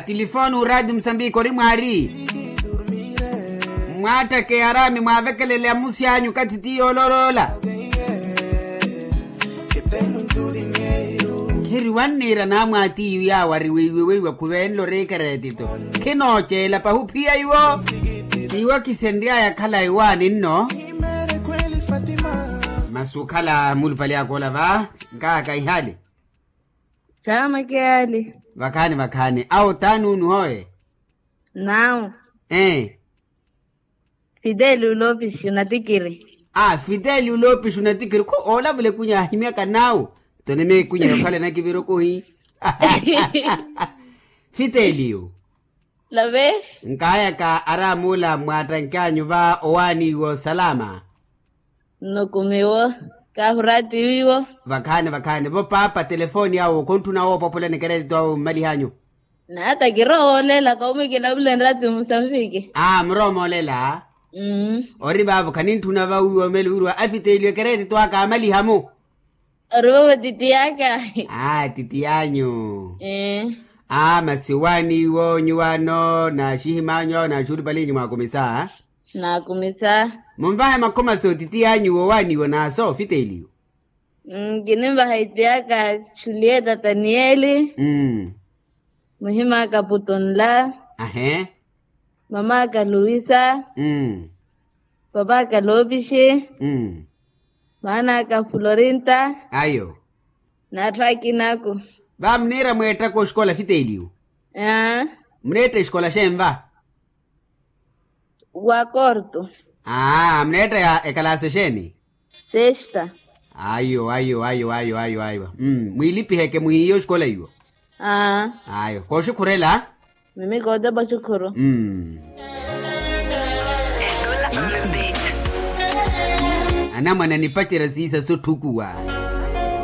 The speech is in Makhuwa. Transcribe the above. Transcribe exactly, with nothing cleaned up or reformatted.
Tilifooni uraati musambiki ori mwaari. Mwaattakeye araami mwaavekelele amusi anyu kathi ti yoololoola. Khiri wanniira naamwaatiyu yaawo ari weiwe weiwe khuveenle ori ekereetito. Khinooceela pahi ophiya iwo. Iwo kisenry'aya khalayi waani nno. Masi okhala mulupale akoola va. Nkaaka ihali. Saamake yaali. Vakhaani vakhaani awo t'ani unu hooye? Naawu. Ee. Fiteli ulopixi unatikiri. Aa fiteli ulopixi unatikiri khu oolavula ekunya ahimyaka naawu. Toni meekunya yookhala enakivira okuhi. Fiteliyu. Love. Nkaayaka araamula mwaattanke anyu va owaani iwo salama. Nnukumiwo. Kaahuraati wiwo. Vakhaani vakhaani vo paapa telefooni awo khontthuna woopopolani ekereetito awo mmalih'anyu. Nata kirowa oolela kawume kilavule nraati musambiki. Aa murowa moolela. Ori vaavo khanintthuna va wiwo meli wiriwa afiteliwe ekereetito aka amaliha-mu. Ori vovo titiyaka. Aa titiy'anyu. Aa masi owaani iwo nyuwaano naaxihim'anyu awo naaxuuripalinyu mwaakumisa. Naakumisa. Munvahe makhuma so titiy'anyu woowaani iwo naaso fiteliwe. Kininvaha itiyaka. Julieta taniyeli. Muhim'aka putunla. Ahe. Mam'aka luwisa. Pap'aka loopixi. Maan'aka florinta. Ayo. N'atthu akinaku. Va muniira mweettaka oxikola fiteliyu. Aa. Muneetta exikola xenva? Wa korto. Aa muneetta ya ekalaasi exeeni? Sesta. Ayo ayo ayo ayo ayo ayo. Mwiilipiheke muhiiye oxikola iwo. Aa. Ayo kooxikhurela. Mimi kootepa oxikhuru. Anamwane anipacerya siisa sotthukuwa.